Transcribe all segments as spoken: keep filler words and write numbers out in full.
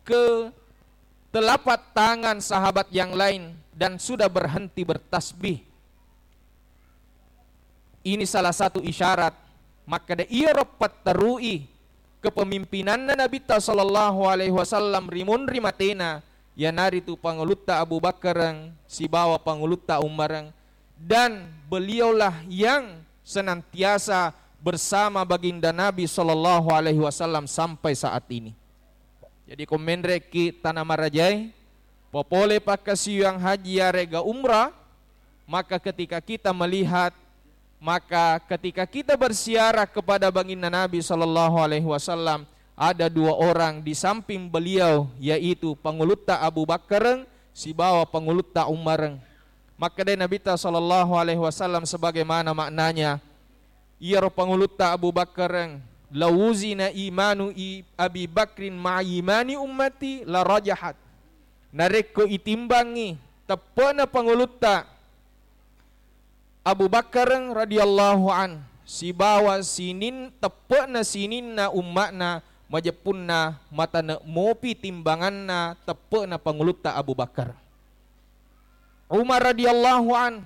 ke telapak tangan sahabat yang lain dan sudah berhenti bertasbih. Ini salah satu isyarat. Makkeda iyaro patterui kepemimpinanna Nabitta sallallahu alaihi wasallam ri munri matena, iyanaritu Pangulutta Abu Bakkareng sibawa Pangulutta Umareng, dan beliaulah yang senantiasa bersama Baginda Nabi sallallahu alaihi wasallam sampai saat ini. Jadi, ko menrekki tana marajae, popole pakkasiwiang haji yarega umrah, maka ketika kita melihat, maka ketika kita berziarah kepada Baginda Nabi sallallahu alaihi wasallam, ada dua orang di samping beliau, yaitu Pangulutta Abu Bakkareng sibawa Pangulutta Umareng. Makkedai Nabitta sallallahu alaihi wasallam sebagaimana maknanya, iyaro Pangulutta Abu Bakkareng, "Lawuzina imanu i-, Abi Bakrin ma'a imani ummati la rajahat." Narekko itimbangngi teppe'na Pangulutta Abu Bakkareng radhiyallahu an sibawa sinin-, teppe'na sininna umma'na, majeppunna matane' mopi timbanganna teppe'na Pangulutta Abu Bakar. Umar radhiyallahu an,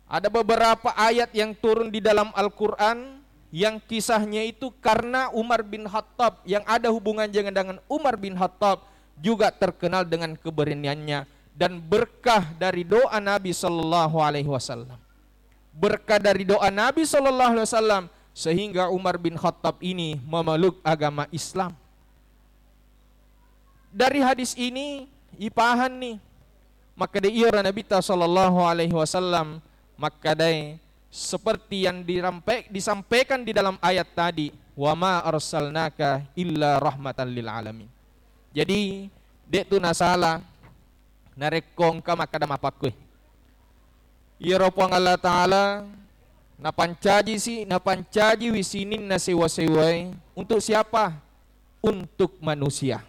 ada beberapa ayat yang turun di dalam Al-Quran yang kisahnya itu karena Umar bin Khattab, yang ada hubungan dengan Umar bin Khattab, juga terkenal dengan keberaniannya dan berkah dari doa Nabi sallallahu alaihi wasallam. Berkah dari doa Nabi sallallahu alaihi wasallam sehingga Umar bin Khattab ini memeluk agama Islam. Dari hadis ini ipahanni, makkeda iyaro Nabitta sallallahu alaihi wasallam makkedae seperti yang dirampe-, disampaikan di dalam ayat tadi, "Wa ma arsalnaka illa rahmatan lil alamin." Jadi, de' tu nasala narekko engka makkeda mappakkue. Iyaro Puang Allah Ta'ala napancaji si-, napancajiwi sininna sewa-sewae untuk siapa? Untuk manusia.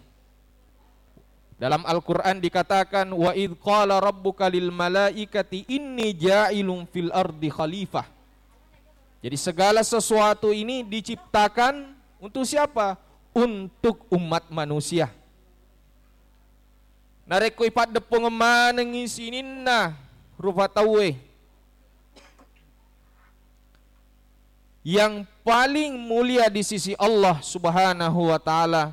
Dalam Al-Quran dikatakan, "Wa idh qala rabbuka lil malaikati inni ja'ilun fil ardi khalifah." Jadi segala sesuatu ini diciptakan untuk siapa? Untuk umat manusia. Narekko ipaddeppungeng manengngi sininna rupa tauwe, yang paling mulia di sisi Allah Subhanahu wa Ta'ala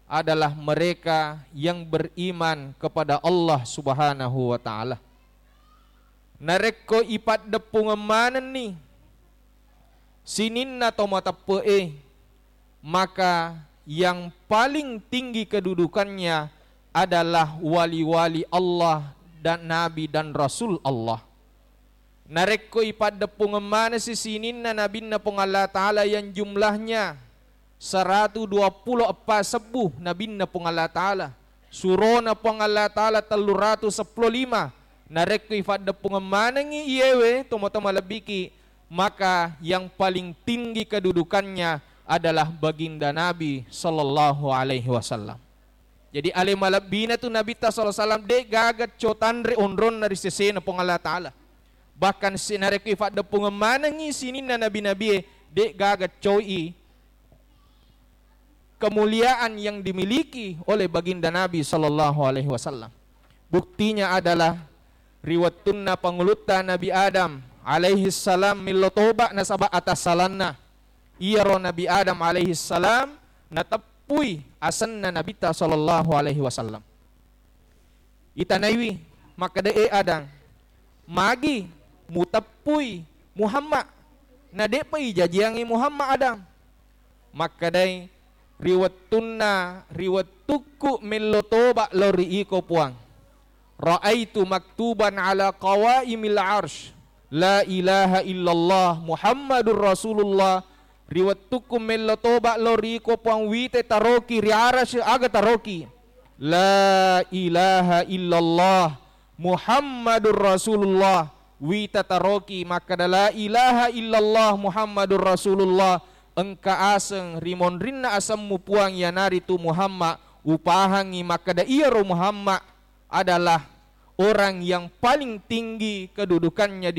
adalah mereka yang beriman kepada Allah Subhanahu wa Ta'ala. Narekko ipaddeppungeng manenni sininna to mateppe'e, maka yang paling tinggi kedudukannya adalah wali-wali Allah dan nabi dan rasul Allah. Narekko ipaddeppungeng manesi sininna nabinna Puang Allah Ta'ala yang jumlahnya seratu dua puluh eppa sebbu nabinna Puang Allah Ta'ala, surona Puang Allah Ta'ala telluratu seppulo lima, narekko ipaddeppungeng manengngi iyewe tomatoa malebbiki, maka yang paling tinggi kedudukannya adalah Baginda Nabi sallallahu alaihi wasallam. Jadi, ale malebbina tu Nabitta sallallahu alaihi wasallam, de' gaga co tanre onronna ri sesena Puang Allah Ta'ala. Bahkan si-, narekko ipaddeppungeng manengngi sininna nabi-nabie, de' gaga coi kemuliaan yang dimiliki oleh Baginda Nabi sallallahu alaihi wasallam. Buktinya adalah ri wettunna pangulutta Nabi Adam alaihi salam millo toba nasaba atassalanna, iyaro Nabi Adam alaihi salam nateppui asenna Nabitta sallallahu alaihi wasallam. Itanaiwi, makkeda, "E Adang, magi muteppui Muhammad, na de'pa ijajiangngi Muhammad, Adang?" Makkedai, "Ri wettunna, ri wettukku mello toba lao ri iko, Puang, raaitu maktuban ala qawaimil arsy, la ilaha illallah Muhammadur Rasulullah." Ri wettukku mello toba lao ri iko, Puang, wite taroki ri arasy, aga taroki? La ilaha illallah Muhammadur Rasulullah. Wita taroki makkeda, "La ilaha illallah Muhammadur Rasulullah." Engka aseng ri monrinna asemmu, Puang, iyanaritu Muhammad. Upahangngi makkeda iyaro Muhammad adalah orang yang paling tinggi kedudukannya di